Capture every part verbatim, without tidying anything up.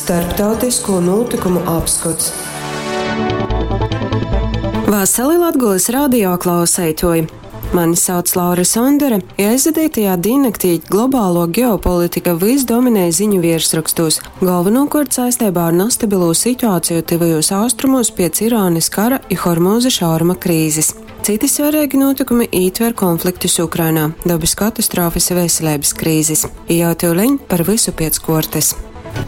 Starptautisko nūtykumu apskots. Vasali Latgolys radio klauseituoji! Mani sauc Laura Sondore, i aizvadeitajā dīnnaktī globāluo geopolitika vys dominēja ziņu viersrokstūs, golvonūkuort saisteibā ar nastabilū situāciju Tyvajūs Austrumūs piec Irānys kara i Hormūza šauruma krīzis. Cyti svareigi nūtykumi ītver konfliktus Ukrainā, dobys katastrofys i veseleibys krīzis. I jau tyuleņ par vysu piec kuortys.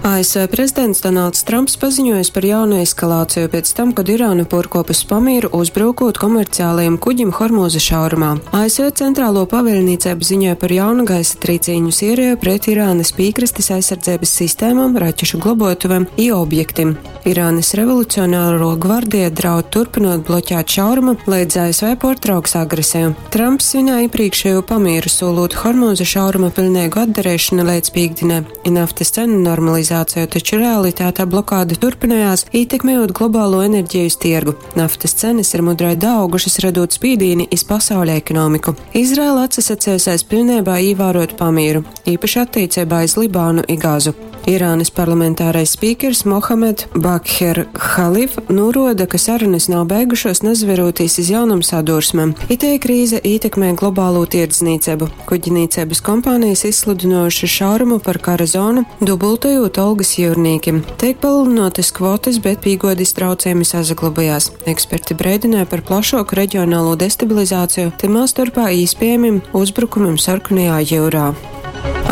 A S V prezidents Donalds Tramps paziņuojs par jaunu eskalāciju piec tam, kod Irāna puorkuopus pamīru, uzbrukūt komerciālajam kuģim Hormūza šaurumā. A S V Centrālo pavēļnīceiba ziņoja par jaunu gaisa trīcīņu sēriju pret Irānas pīkrastes aizsardzības sistēmām, raķešu globuotuvēm i objektim. Irānas revolucionāro gvardija draud turpinot bloķēt šaurumu, leidz A S V puortrauks agresiju. Tramps svinēja iepriekšējo pamieru, solot Hormūza šauruma pilnīgu atdarīšanu līdz pīkdienai i naftas cenu normalizāciju, taču realitātē blokāde turpinājās, ietekmējot globālo enerģijas tirgu. Naftas cenas ir mudrai daaugušas, radot spīdīni iz pasauļa ekonomiku. Izraela atsasacējusies pilnībā ievērot pamieru, īpaši attiecībā iz Libānu i Gazu. Irānas parlamentārais spīkers Mohamed Bakher Khalif noroda, ka sarunas nav beigušos, nazaverūtīs iz jaunom sadursmem. Itei krīze ietekmē globālo tirdzniecību. Kuģnīcības kompānijas izsludinojušas šaurumu par kara zonu, dubultojot algas jūrniekiem. Tiek palielinātas kvotas, bet pīgodis traucējumi sasaglabājās. Eksperti brēdināja par plašāku reģionālo destabilizāciju, timā starpā iespējamiem uzbrukumiem Sarkanajā jūrā.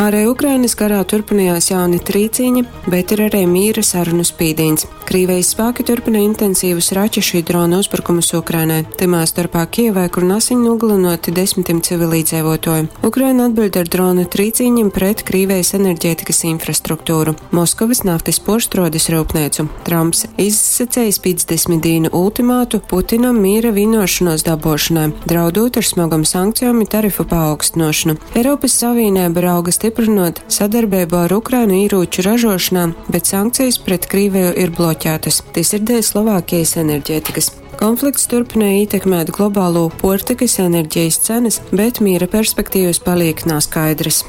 Arī Ukrainas karā turpinājās jauni trīcīņi, bet ir arī mīra sarunu spīdīns. Krīvijas spēki turpina intensīvus raķešu i dronu uzbrukumus Ukrainai, timā starpā Kijevai, kur nasiņ nogalinoti desmitiem civilīdzīvotoju. Ukraina atbild ar dronu trīcīņiem pret Krīvijas enerģētikas infrastruktūru, Moskovas naftas porštrodes rūpnīcu. Trumps izsacējis piecdesmit dienu ultimātu Putinam mīra vienošanos dabošanai, draudot ar smagam sankcijām i tarifu paaugstinošanu. Eiropas Savienība rauga stiprinot sadarbību ar Ukrainu īrūču ražošanā, bet sankcijas pret Krīviju ir bloķētas. Tas ir dēļ Slovākijas enerģētikas. Konflikts turpināja ietekmēt globālo puortikas enerģijas cenas, bet miera perspektīvas paliek naskaidras.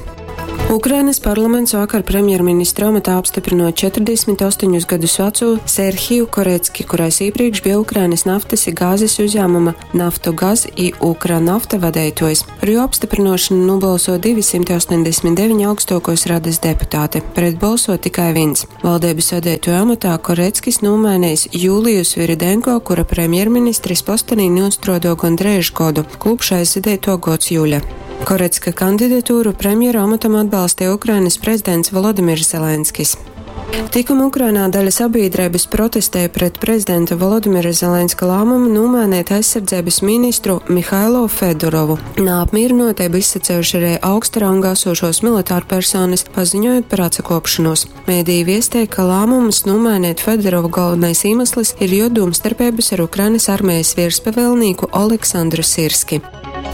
Ukrainas parlaments vakar premjerministra amatā apstiprinot četrdesmit astoņus gadus veco Serhiju Korecki, kurais iepriekš bija Ukrainas naftas i gāzes uzņēmuma Naftogaz i Ukranafta vadītājs. Par jo apstiprinošanu nobalso divi simti astoņdesmit deviņi augstākos radas deputāti, pret balso tikai viens. Valdības vadītāja amatā Koreckis nomainījis Jūliju Sviridenko, kura premjerministris postenī nostrodo gandrīz godu, kopš aizvadīto gods jūļa. Korecka kandidatūru premjera amatam atbalstīja Ukrainas prezidents Volodimirs Zelenskis. Tikuma Ukrainā daļa sabiedrības protestēja pret prezidenta Volodimira Zelenska lēmumu nomainīt aizsardzības ministru Mihailo Fedorovu. Neapmierinotību izsacējuši arī augsta ranga esošos militāru personas, paziņojot par atsakopšanos. Mēdī viestēja, ka lēmums nomainīt Fedorovu galvenais iemesls ir jo domstarpības ar Ukrainas armijas virspavēlnieku Oleksandru Sirski.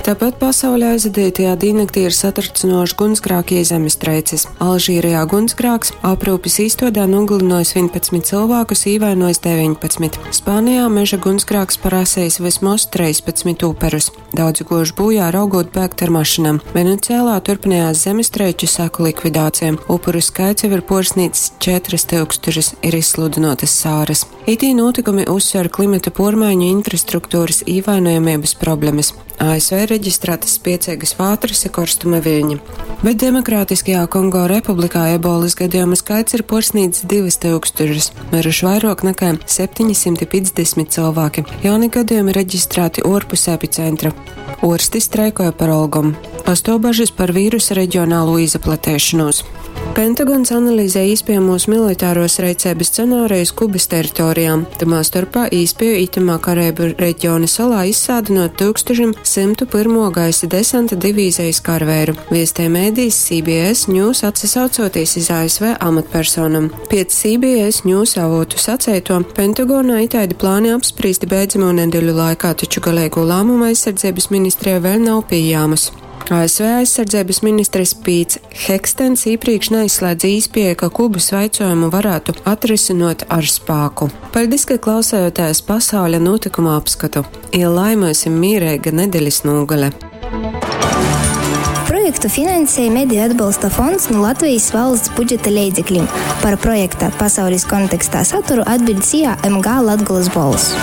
Tāpat pasaulē aizvadītajā diennaktī ir satricinoši gunsgrāki zemestrēces. Alžīrijā gunsgrāks aprūpes īstodē nogalinojis vienpadsmit cilvēkus, īvainojis deviņpadsmit. Spānijā meža gunsgrāks parasējis vismaz trīspadsmit uperus. Daudzi gojuši bojā, raugot bēgt ar mašīnām. Venecijā turpinājās zemestrēču seku likvidācija. Upuru skaits jau ir porsnīts četras tūkstošus, ir izsludinotas sāras. Itī notikumi uzsver klimata pormaiņu infrastruktūras īvainojamības problēmas. A S V reģistrētas spiecīgas vātras i korstuma viļņi. Bet Demokrātiskajā Kongo Republikā ebolas gadījumu skaits ir porsnīts divas tūkstošus, miruši vairāk nekā septiņi simti piecdesmit cilvēki. Jauni gadījumi reģistrēti orpus epicentra. Orsti streikoja par algom. Pastāv bažas par vīrusa reģionālo izplatēšanos. Pentagons analizē iespējamos militāros reicības scenārijus Kubas teritorijām. Tamā starpā īspēju itamā Karēbu reģiona salā izsādinot tūkstoš simt pirmo gaisa desanta divīzijas karvēru. Viestē mēdījis C B S News, atsasaucoties iz A S V amatpersonam. Pēc C B S News avotu sacēto, Pentagonā itaidi plāni apspriesti beidzamo nedēļu laikā, taču galīgo lēmumu aizsardzības ministrijā vēl nav pieejams. A S V aizsardzības ministrs Pīts Hekstens iepriekš neizslēdz īspēju, ka Kubas vaicojumu varētu atrisinot ar spāku. Paldies, ka klausējāties pasauļa notikuma apskatu. I lai myusim mīrēga nedeļas nūgale. Projekts Projektu finansej Mediju atbolsta fonds nu Latvejis valsts budžeta leidzeklim. Par projekta Pasaulis kontekstā saturu atbiļd S I A M G Latgolys Bolss.